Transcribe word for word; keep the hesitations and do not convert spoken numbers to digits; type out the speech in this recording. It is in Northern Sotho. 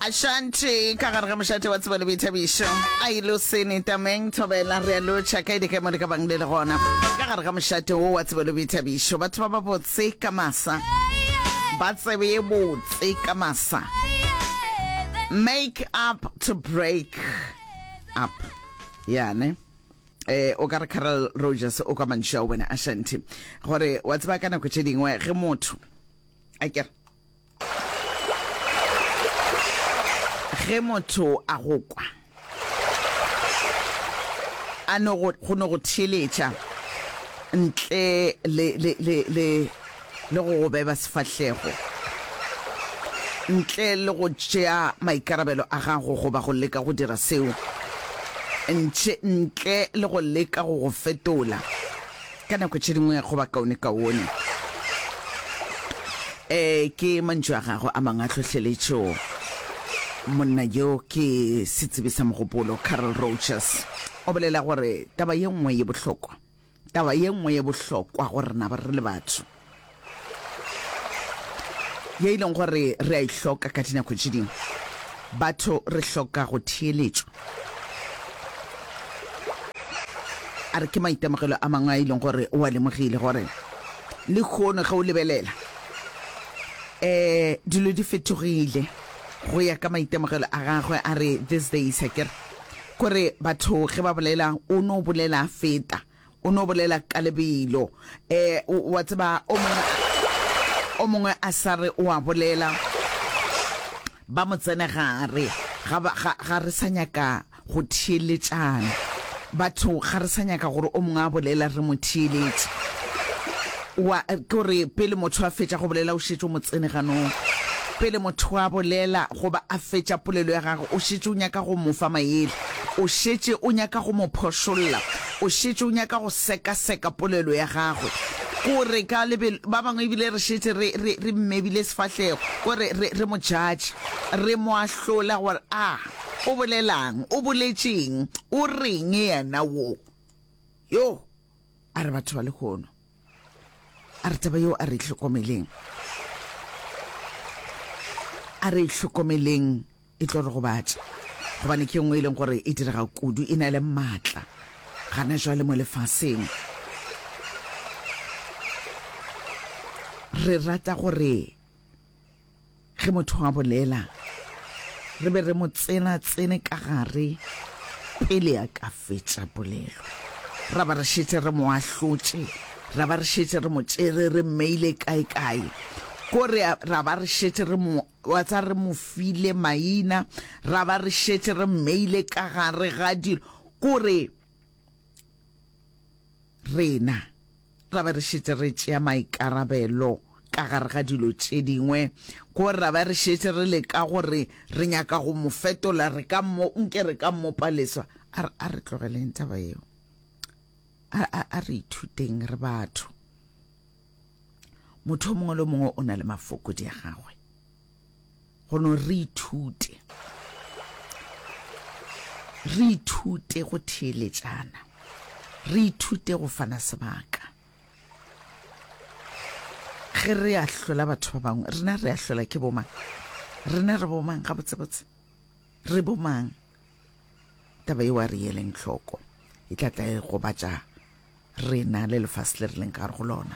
Ashanti ka gare ga mošate wa tsebo le boithabišo a ile sene tameng thobela re a lotšha kae di kae mo le ka bang le le gona ka gare ga mošate wo wa tsebo le boithabišo batho ba ba botse ka masa ba tsebe ye botse ka masa make up to break up yane eh o ka re Carol Rogers o ka mantšu a wena Ashanti gore wa tseba ka nako tše dingwe ge motho a kere Ge motho a go kwa, a no go, go no go theeletša ntle le, le, le, le, le go go beba sefahlego, ntle le go tšea maikarabelo a gago goba go leka go dira seo, ntše, ntle le go leka go go fetola. Ka nako tše dingwe go ba kaonekaone. E, ke mantšu a gagwe a mangwe a tlhohleletšo. Monna yo ke setsebi sa mogopolo, Carl Rogers, o bolela gore taba ye nngwe ye bohlokwa, taba ye nngwe ye bohlokwa go rena re le batho, ye e leng gore re a e hloka ka dinako tše dingwe, batho re hloka go theeletšwa. A re ke maitemogelo a mangwe a e leng gore o a lemogile gore lehono ge o lebelela um dilo di fetogile go ya ka maitemogelo a gagwe. A re these days a kere kore batho ge ba bolela o no bolela a feta, o no bolela ka lebelo, um wa tseba o mongwe o mongwe a sa re o a bolela ba mo tsene gare. Ga ba, ga, ga re sa nyaka go theeletšana. Batho ga re sa nyaka gore o mongwe a bolela re mo theeletše. Wa, ke gore pele motho a fetša go bolela o šetše o mo tsene ganong. Pele motho a bolela goba a fetša polelo ya gagwe o šetše o nyaka go mo fa maele. O šetše o nyaka go mo phošolla. O šetše o nyaka go sekaseka polelo ya gagwe. Kore ka lebelo, ba bangwe ebile re šetše re, re, re mmebile sefahlego, kore re, re mo judge, re mo ahlola gore a o bolelang, o boletšeng, o reng yena wo. Yo, a re batho ba lehono, a re taba yeo a re e hlokomeleng, a re e hlokomeleng. E tlo re gobatša, gobane ke e nngwe e leng gore e direga kudu, e na le maatla gana jwale mo lefaseng. Re rata gore ge motho a bolela re be re mo tsena-tsene ka gare pele a ka fetša polelo, ra ba re šetše re mo ahlotše, ra ba re šetše re mo tšere re mmeile kae-kae, ko re ra ba re šetše re mo Wa tsa re mo file maina, ra ba re šetše re mmeile ka gare ga dilo, kore rena ra ba re šetše re tšea maikarabelo ka gare ga dilo tše dingwe, kore ra ba re šetše re leka gore re nyaka go mo fetola, re ka mo, nke re ka mmopa leswa. A re, a re tlogeleng taba yeo. A, a, a re ithuteng re batho. Motho o mongwe le o mongwe o na le mafokodi a gagwe. Go no re ithute, re ithute go theeletšana, re ithute go fana sebaka. Ge re ahlola batho ba bangwe, rena re ahlola ke bomang? Rena re bomang gabotsebotse? Re bomang? Taba yeo a re yeleng hloko, e tla tla e gobatša rena le lefase le re leng ka gare go lona.